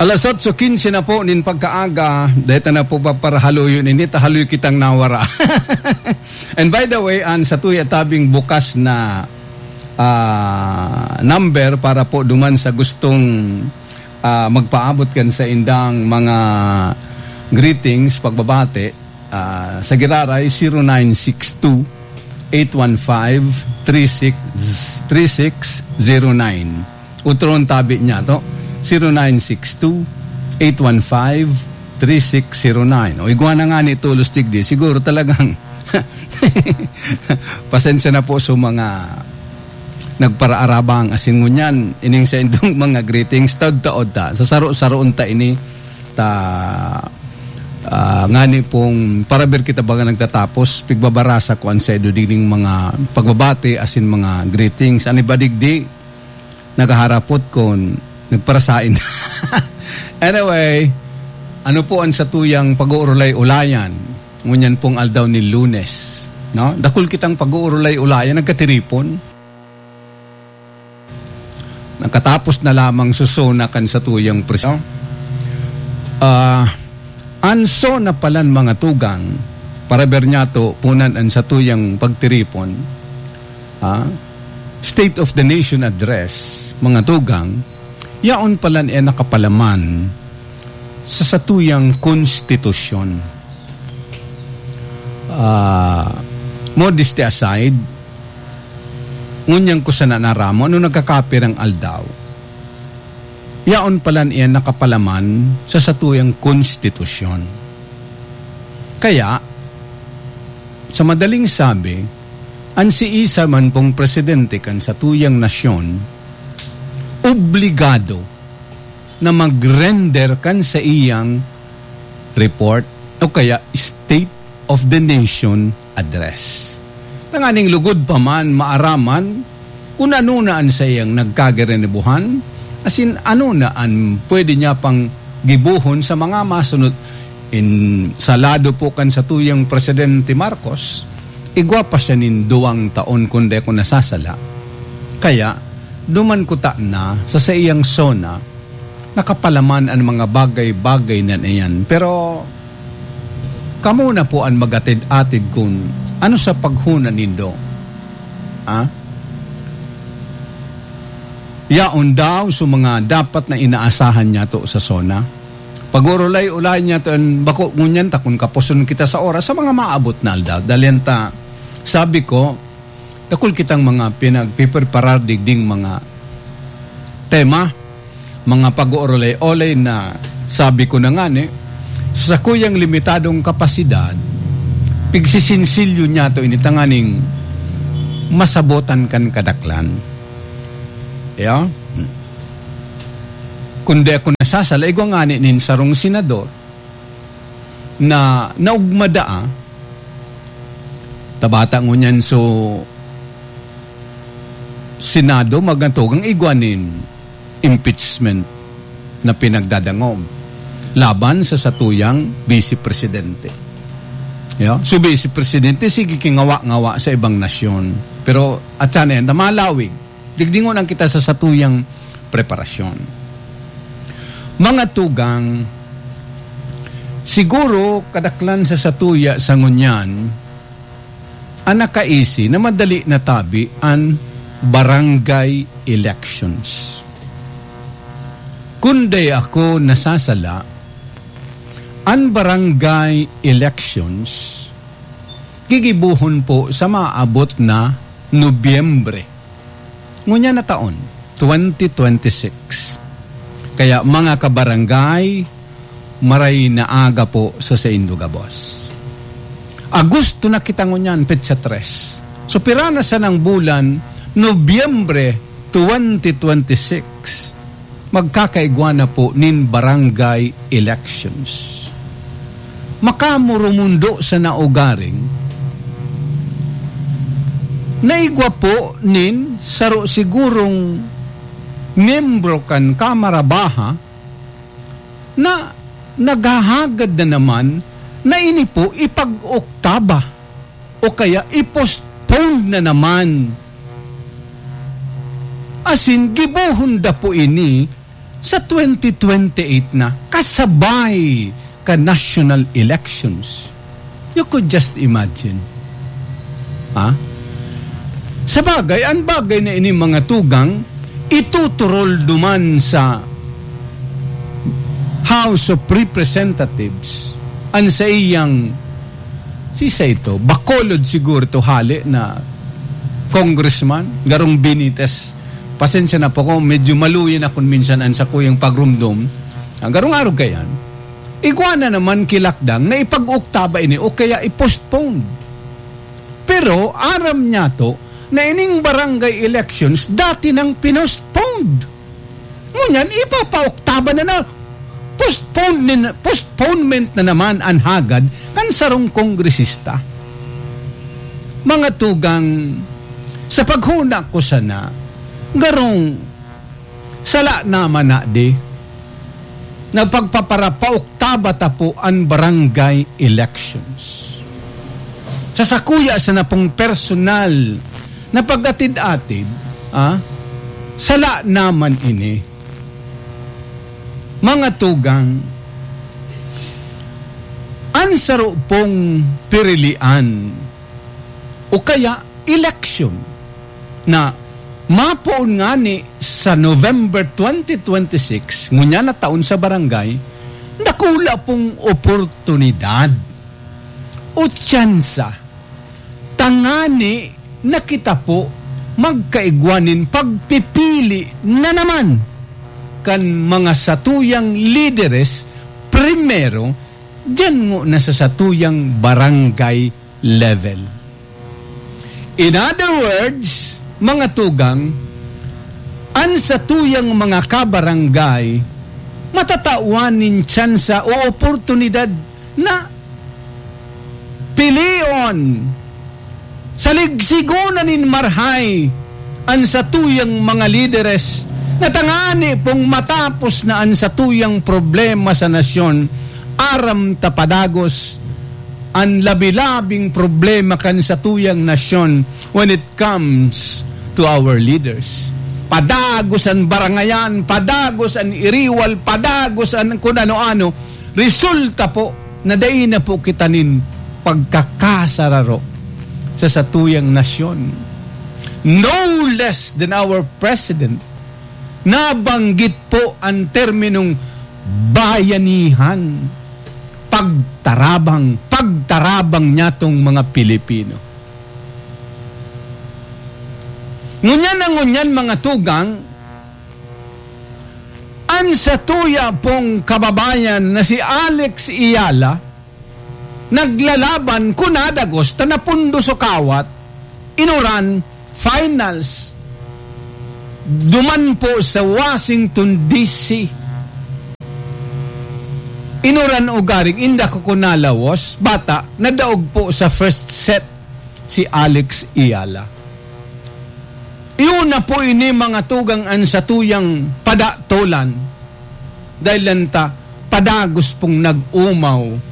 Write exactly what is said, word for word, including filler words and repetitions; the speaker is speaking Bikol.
Alas otso quince na po nin pagkaaga, deta na po paparahaluyon ini, ta haloy kitang nawara. And by the way, an satuya tabing bukas na, ah, number para po duman sa gustong, ah, magpaabot kan saindang mga greetings, pagbabati, ah, sa giraray, zero nine six two, eight one five, three six, three six zero nine. Utron tabi niya to, zero nine six two, eight one five, three six zero nine. O, igwa na nga ni tolos digdi. Siguro talagang pasensya na po sa mga nagparaarabang asin ngunyan. Ining sa indong mga greetings, taod-taod ta. Sa saro-saroon ta ini, ta, ah, ngani pong parabir kita baga nagtatapos, pigbabarasa ko an saindo dining mga pagbabati asin mga greetings. An iba digdi, naghaharapot kun nagparasain. Anyway, ano po an satuyang pag-uurulay-ulayan? Ngunyan pong aldaw ni Lunes, no? Dakul kitang pag-uurulay-ulayan, nagkatiripon. Nakatapos na lamang sa SONA kan satuyang pres-, ah, an SONA palan, mga tugang, paraber niya to, punan an satuyang pagtiripon, ah, State of the Nation Address, mga tugang, yaon palan e nakapalaman sa satuyang konstitusyon. Ah, modesty aside, ngunyan ko sana naramon, ano nagkakapirang aldaw, yaon palan iyan nakapalaman sa satuyang konstitusyon. Kaya, sa madaling sabi, an siisay man pong presidente kan satuyang nasyon, obligado na mag-render kan saiyang report o kaya State of the Nation Address. Tanganing lugod pa man maaraman kun ano na an saiyang nagkagirinibuhan, asin ano na an pwede niya pang gibohon sa mga masunod. In, sa lado po kan satuyang Presidente Marcos, igwa pa siya nin duwang taon, kun di ako nasasala. Kaya, duman kuta na sa saiyang SONA, nakapalaman an mga bagay-bagay na iyan. Pero, kamo na po an mag-atid-atid kun ano sa paghona nindo. Ah? Yaon daw sa mga dapat na inaasahan niyato sa SONA. Pag-urulay-ulay niyato an bako ngunyan ta kun kapuson kita sa oras sa mga maabot na aldaw. Dalian ta, sabi ko, dakul kitang mga pinagpipreparar digding mga tema, mga pag-uurulay-olay na sabi ko na ngani, sa sakuyang limitadong kapasidad, pigsisinsilyo niyato ini tanganing masabotan kan kadaklan. Ya? Kun di ako nasasala, igwa ngani nin sarong senador na naugma daa, tabata ngunyan so Senado, magatugang igwa nin impeachment na pinagdadangog laban sa satuyang Vice Presidente. Ya? So, Vice Presidente, sige kingawa-ngawa sa ibang nasyon. Pero, at sana yan, malawig. Digdingon ang kita sa satuyang preparasyon. Mga tugang, siguro kadaklan sa satuya sa ngunyan, an nakaisi na madali natabi an barangay elections. Kun di ako nasasala, an barangay elections gigibohon po sa maabot na Nobyembre. Ngunyan na taon, twenty twenty-six. Kaya, mga kabarangay, maray na aga po sa saindo gabos. Agosto na kita ngunyan, petsa tres. So, pira na sanang bulan, Nobyembre twenty twenty-six, magkakaigwa na po nin barangay elections. Makamurumundo sa naugaring, naigwa po nin saro sigurong miyembro kan Kamara Baha na naghahagad na naman na ini po ipag-oktaba o kaya i-postpone na naman. Asin, gibohon da po ini sa twenty twenty-eight na, kasabay kan national elections. You could just imagine. Ha? Sa bagay, ang bagay na ini, mga tugang, ituturol duman sa House of Representatives, ang sa iyang, sisa ito, Bacolod siguro ito, hali na congressman, garong Benitez. Pasensya na po ko, medyo maluya na kun minsan ang sakuyang pagrumdom. Ang garong arog kayan, igwa na naman kilakdang na ipag-oktaba ini o kaya i-postpone. Pero aram niya to na ining barangay elections dati nang pinostponed. Ngunyan, ipapaoktaba na na, postpone nin-, postponement na naman an hagad kan sarong kongresista. Mga tugang, sa paghuna ko sana, garong sala naman na di, nagpagpaparapaoktaba ta po an barangay elections. Sa sakuya sana pong personal na pag-atid-atid, ah, sala naman ini. Mga tugang, an saro pong pirilian o kaya eleksyon na mapoon ngani sa November twenty twenty-six, ngunyan na taon sa barangay, dakula pong oportunidad o tsansa tangani na kita po magkaigwa nin pagpipili na naman kan mga satuyang lideres primero, diyan ngona sa satuyang barangay level. In other words, mga tugang, an satuyang mga kabarangay matatawan nin tsansa o oportunidad na pilion, saligsigon na nin marhay an satuyang mga lideres, na tangani pong matapos na an satuyang problema sa nasyon, aram ta padagos an labi-labing problema kan satuyang nasyon when it comes to our leaders. Padagos an barangayan, padagos an iriwal, padagos an kun ano-ano. Resulta po na dai na po kita nin pagkakasararo sa satuyang nasyon. No less than our president, nabanggit po ang terminong bayanihan, pagtarabang, pagtarabang niya tong mga Pilipino. Ngunyan na ngunyan, mga tugang, an satuya pong kababayan na si Alex Eala, naglalaban kun nadagos ta napundo sa kawat, inuran, finals, duman po sa Washington, D C. Inuran ugaring inda ko kun nalawas, bata, nadaog po sa first set si Alex Eala. Iyo na po ini, mga tugang, an satuyang padatolan. Dahil lang ta, padagos pong nag-umaw